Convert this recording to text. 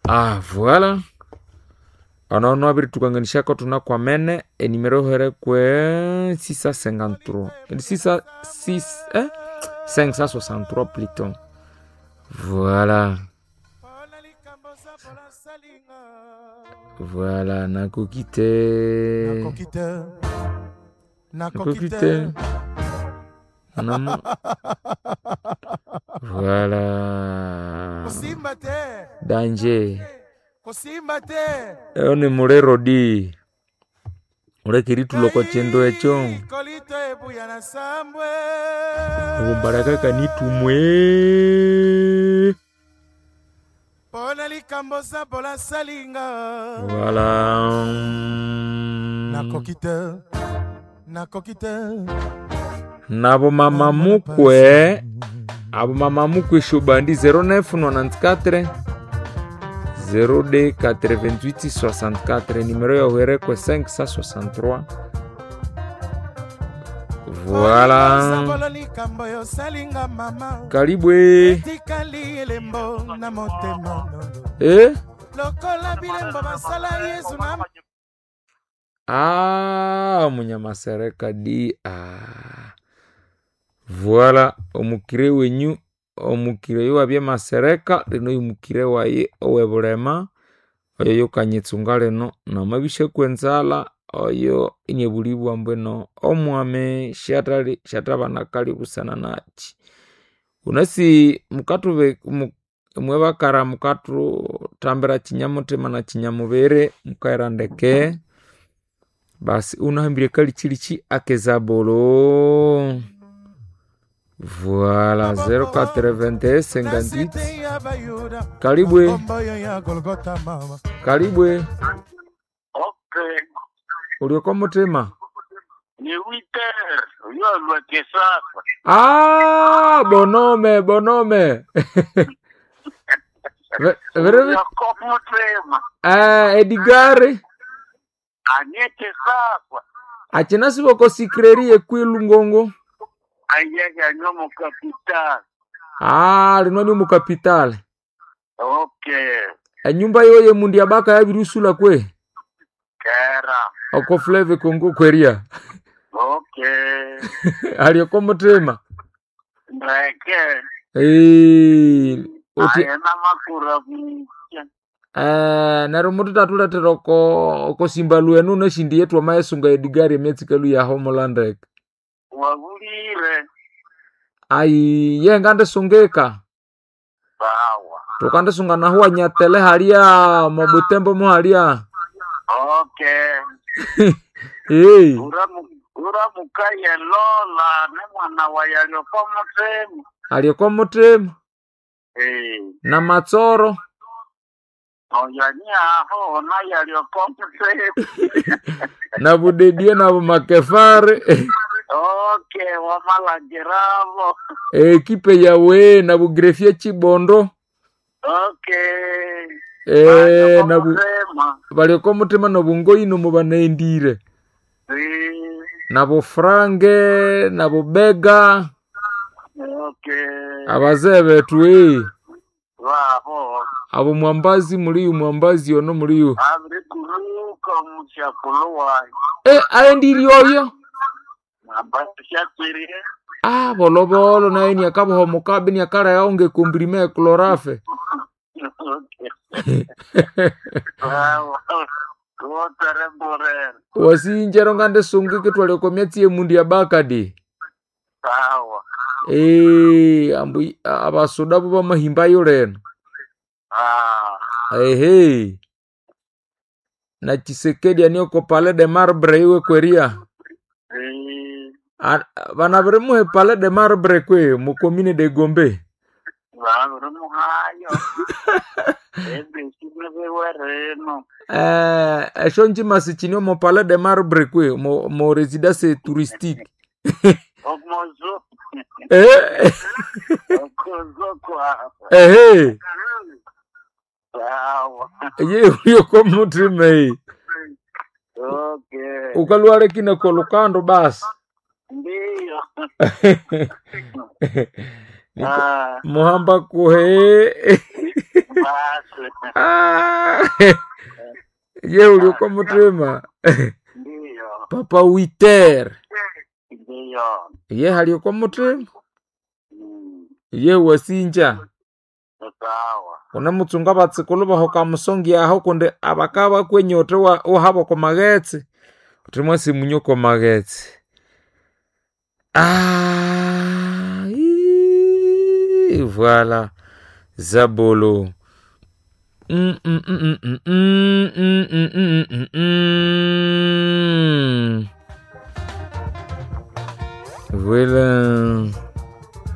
Ah, voilà. Ono nwabiritukanganishako tunakwamene enimero here kwe 653 6 6 eh 563 plutôt. Voilà. Voilà, nakoki te. Nakoki te. Nakoki te. Namo. Voilà. Kosimba te. Danger. Kosimba te. Eyo ni mulero di. Ulekeri tuloko chendo echo. Kolito ebuya na sambwe. Obumbaraka kanitumwe. Pona likambo sabola salinga. Voilà. Nakoki te. Nakoki te. Nabo mama mukwe, abo mama mukwe shobandi 0994 02 88 64 numéro ya uherekwe 563. Voilà. Sabola likambo yo salinga mama. Karibwe. Etikali elembo na motema. Eh? Lokola bilembo basala Yesu na Ah, munyamasereka di ah. Voilà, omukire wenyu omukire oyo wabye masereka lino yumukire waye owebulema oyo yukanyitsunga lino namabishaku enzalha oyo iniebulibwa mbwino omwami shatali shatabana kali busana nachi unasi mukatube mwebakara mukatutambira kinyamutima na kinyamubiri mukaira ndeke basi unahambire kali chilichi akezabolo. Voilà, 081 58 ya Bayuda. Karibwe. Komboyo ya Golgotha mama. Karibwe. Okay. Ulioko mutima. Ni witer yolwa kesasa. Ah, bonome bonome. Vere Yoko mutema. eh Edgar Anye kesasa. achina siboko sikreri ekwilu ngongo. Ayege anyomo capital. Ah, lino ni mu capital. Okay. Enyumba yoye mundi abaka yabirusula kwe. Kera. Oko Fleve Congo kweria. Okay. Alioko mutima. Ndeke. Eh, uti Ayena makura mutya. eh neryo mututatuletera oko oko simba lwenu neshindi yetu amayesunga Edgar emyatsi ya homeland. Wabulire. Ai ye ngandisungika. Bawa. Tukandisunga nahu anyatele halia mobutembo muhalia. Okay. Hey. Uramukaye lola ne mwana wa yalioko mutema. Alioko mutima Eh. na matsoro Oyani aho na yalioko mutema. na budedie na bumakefare. Okay, wamalagiravo. Ekipe yawe na bugrefie chibondo. Okay. Eh, na bu Mutema. balioko mutima na bungoino mubanaendire Eh, na bufrange na bubega okay. abazee betu eh. Vaho. Abo mwambazi muliyu mwambazi ono muliyu Abri kuruka muchakulu wayo. eh, aendiri oyo Abashakirie. ah, bolobolo naye niakabuhomokabe niakala yaonge komprime ya klorafe. Okay. Vaho. Wotere borere. Wasinjero ngande sungike twaleko myatsi emundu ya bakadi. Sawa. Eh, ambu abasoda bo bamahimbayo leno. Ah. Ehe. Na Chisekedi anioko Palais de Marbre iwe kweria. Eh, Bana birimuhe Palais de Marbre kwe mu commune de Gombe. Vabri muhayo. Ebisi nibiwereno. Eh, esho njima sichinio mo Palais de Marbre kwe mo, mo residence touristique. Omozo. Eh, Okozo kwa. ehe. Sawa. Ye uyo mutima hii. Okay. Ukalwale kina kwa lukando basi. Ndiyo. Niko Ah, muhamba kuhe. Basi. Ah, ye ulioko mutima. Ndiyo. Papa Witer. Ndiyo. Ye halioko mutima. Mm. Ye wasinja. Sawa. Unamutsunga batsikulu bahoka musongi aho kundi abaka bakwenyote wa uhabo ko maghetse. Uthi mwasi munyo ko maghetse. Ah, ii, voilà. Zabolo. Voilà.